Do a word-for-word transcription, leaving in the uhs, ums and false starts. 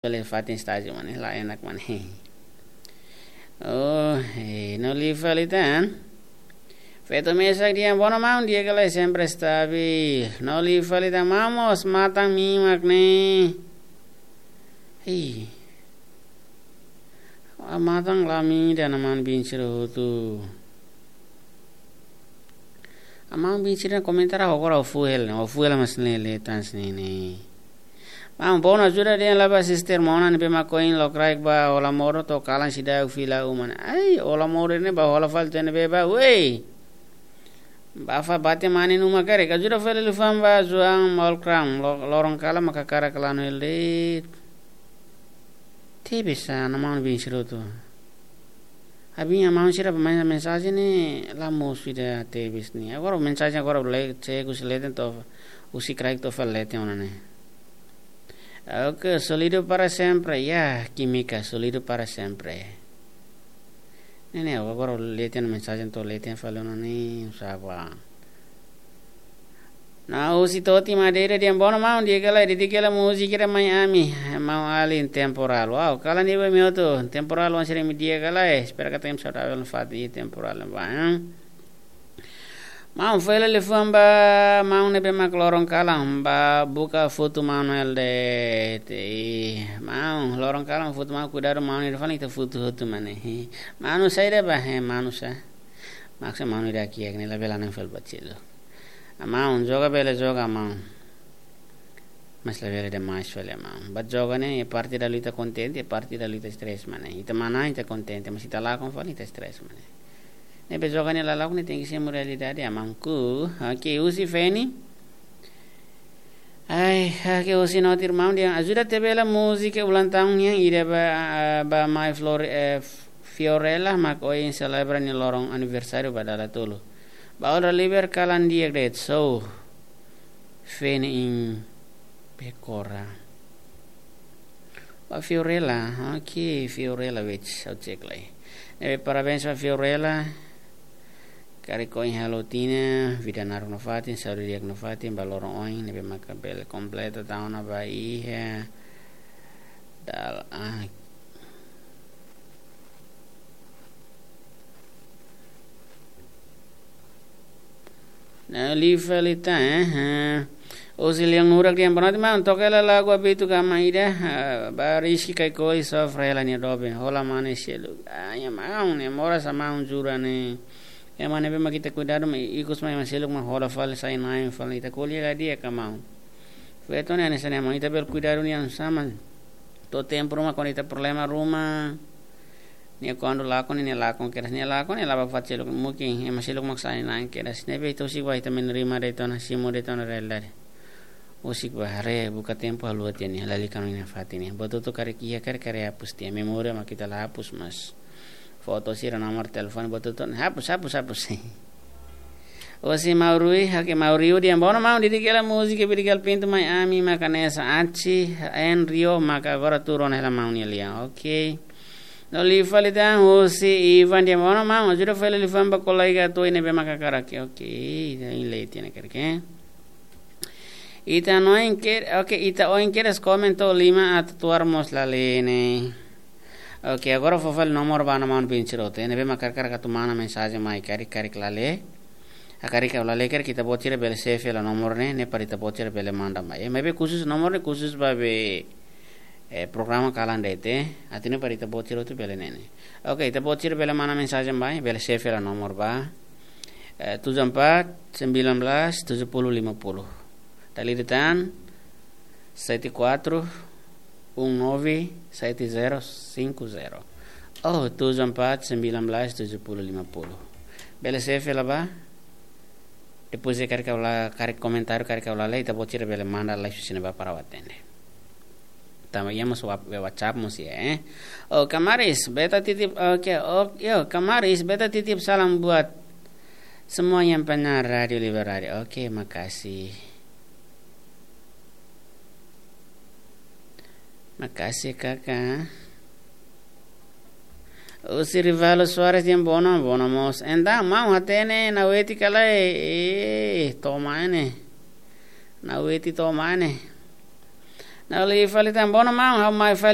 Bele fatin estájiu mane, la enak mane. Oh, eh, no liu fali tan. Feto mesak dehan, bono maun, di'ak ka lae, sempre stabil. No liu fali tan, maun, mós matan mimak ne'e. Ih. Ah, matan la imi ida, maun bin sira hotu. Ah, maun bin sira komentar, ah, agora o fuel, o fuel mas ne'e leten sira ne'e. Maun, bono ajuda dehan la ba sister Mona ne'ebé mak ohin lokraik ba hola modo to'o kalan seidauk fila uma. Ai, hola modo ne'e ba hola fali tiha ne'ebé ba, wei. Ba fó bate mane numa karik. Ajuda fali liafuan ba João Malcram, lo-, loron kalan mak hakarak lanu hela de'it. Tebes, ah, maun bin sira hotu. Abin maun sira ba men-, mensajen ne'e la mosu ida tebes ne'e. Agora mensajen agora le, cegu se leten to'o, husi kraik to'o fali leten ona ne'e. Ok, sólidu para sempre. Ya, kímika, sólidu para sempre. Ne'e, ne'e, agora leten mensajen to'o leten fali ona ne'e, sapa. No husi Toti Madeira dehan bono maun, di'ak ka lae, dedika hela múzika ida mai ami, maun alin, Temporal. Wow, kalan ne'ebé imi hotu, Temporal, oan sira-nia di'ak ka lae, espera katak imi saudavel nafatin, Temporal ba, hein? Maun, fó hela liafuan ba maun ne'ebé mak loron kalan ba buka foto maun hela de'it. Maun, loron kalan foto maun, kuidadu maun ida fali ita foto hotu mane. Maun saida ba, he, maun sa. Maksud maun ida kiak ne'e labele nang fel bacilo. Ah, maun, joga bele joga, maun. Mas labele demais fali, maun. Ba joga ne'e, iha parte ida liu ita kontente, iha parte ida liu ita stress mane. Ita manán, ita kontente, mas ita lakon fali, ita stress mane. Ne'ebé joga ne'e la lakon, ne'e tenke simu realidade, maun ku. Ok, husi Feni. Ai, ah, ke husi no tir maun dehan ajuda tiha bele múzika ulang tahun nian ida ba, ah, ba mai Flor-, eh, Fiorella mak ohin selebra nia loron aniversáriu ba dala tolu. Ba Olga Liber kalan di'ak de'it so. Feni in Pekora. Ba Fiorella, ok, Fiorella wets, ha'u cek lai. Ne'ebé parabéns ba Fiorella. Karik ohin halo tinan, vida naruk nafatin, saúde di'ak nafatin, ba loron oin, ne'ebé maka bele kompleta tahun ba iha. Dal, ah. Nah, live lita, eh, eh. Husi Leon Nurak dehan boa noite maun, toka hela lagu Abitu Gama ida, eh, ba Rizky Kaikoli sofre hela nia doben, hola mane seluk. Ah, ya maun, ne'e moras maun jura ne'e. Ema ne'ebé mak ita kuidadu, ema ikus mai ema seluk mak hola fali, sai-na'in fali, ita ko'alia ka di'ak ka maun. Feto ne'e hanesan ne'e maun, ita bele kuidadu nia sama. To'o tempu ruma kuandu ita problema ruma. Nia kuandu lakon, nia lakon kedas, nia lakon, nia la ba fatin seluk, mungkin ema seluk mak sai-na'in kedas. Ne'ebé ita husik ba ita menerima de'it ona, simu de'it ona realidade. Husik ba haree, buka tempu haluha tiha nia, lalika ona nia fatin ne'e. Buat hotu karik iha, karik, karik hapus tiha, memória mak ita la hapus, mas foto sira, nomor telefone, buat hotu hapus, hapus, hapus. Husi Maurui, oke, Mauriu dehan boa noite maun, dedika hela múzika Birigal Pintu mai ami maka hanesan Achi, en Rio maka agora tuur ona hela maun nia lian. Ok. No live lita husi Ivan dehan boa noite maun, ajuda fó hela liafuan ba kolega atu ne'ebé maka hakarak. Ok, ita lee tiha ona karik. Ita oin ke, ok, ita oin kedas komen to'o lima atu tuar mós la lee ne'e. Ok, agora fó fali nomor ba maun bin sira hotu. Ne'ebé mak hakarak atu manda mensajen mai karik, karik la lee. Ah, karik la lee karik ita-boot sira bele save hela nomor ne'e, ne'e para ita-boot sira bele manda mai. Eh, maibé khusus nomor ne'e khusus ba be, eh, programa kalan de'it. Atu nune'e para ita-boot sira hotu bele ne'e ne'e. Ok, ita-boot sira bele manda mensajen mai, bele save hela nomor ba. Eh, tujuh empat sembilan belas tujuh puluh lima puluh. Dala ida tan, sete quatro um nove sete zero cinco zero. Oh, tujuh empat sembilan belas tujuh puluh lima puluh. Bele save hela ba. Depois de karik ha'u la, karik komentáriu, karik ha'u la lee, ita-boot sira bele manda lai husi ne'ebá para ha'u atende. Tanba iha mós wa-, WhatsApp mós iha, eh. Oh, Kamaris, beta titip, oke, oh, yo, Kamaris, beta titip salam buat semua yang pendengar Rádio Libertária. Oke, makasih. Makasih, Kaka. Husi Rivalo Soares dehan boa noite, boa noite mós. Entaun, maun hatene Naweti ka lae, eh, to'o mai ne'e. Naweti to'o mai ne'e. Nali fali tan, bono maun, ha'u mai fali.